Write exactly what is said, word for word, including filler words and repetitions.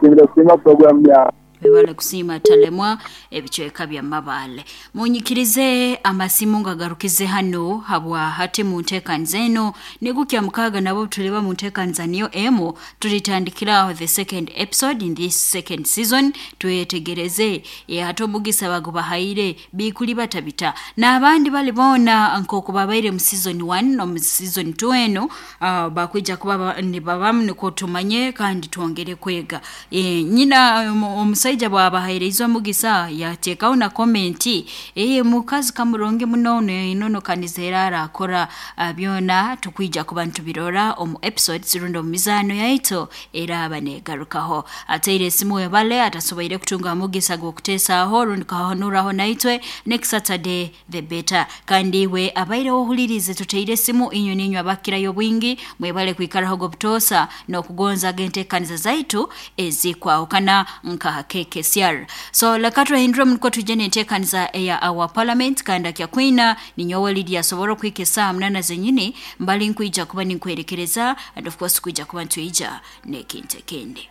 Nsiimire kusiima program yawe. Webale kusiima Talemwa ebicweka bya Mabale. Munyikirize amasimu ngagarukize hano habwa hati mu nteekaniza eno nigukya mukaaga nabo tuliba mu nteekaniza niyo emu tulitandikiraho the second episode in this second season. Twetegereze e, hati omugisa bagubahaire bikuli batabita n'abandi bali boona nk'oku babaire mu season one no mu season two eno uh, bakwija kuba ba- nibabamu nikwo tumanye kandi twongere kwega. E, nyina omu- omusaija bw'abahairize omugisa yateekaho na komenti eye mukazi kamurungi muno enono kanizera arakora uh, byona tukwija kuba ntubirora omu episodes rundi omu mizaano yaitu eraaba negarukaho. Ateire esimu webale atasoboire kutunga omugisa gw'okuteesaaho rundi kahanuraho naitwe next Saturday the better. Kandi iwe abaireho ohulirize tuteire esimu inywe ninywe abakirayo bwingi mwebale kwikaraho gobutoosa n'okugonza genteekaniza zaitu ezikwahukana nka K K C R. So leka tuhindure muniko tujye n'enteekaniza eya our parliament kandi akyakwina ninyowe Lydia asobora okuhika esaaha munana zenyini mbali nkwija kuba ninkwerekereza and of course kwija kuba ntwija n'ekintu ekindi.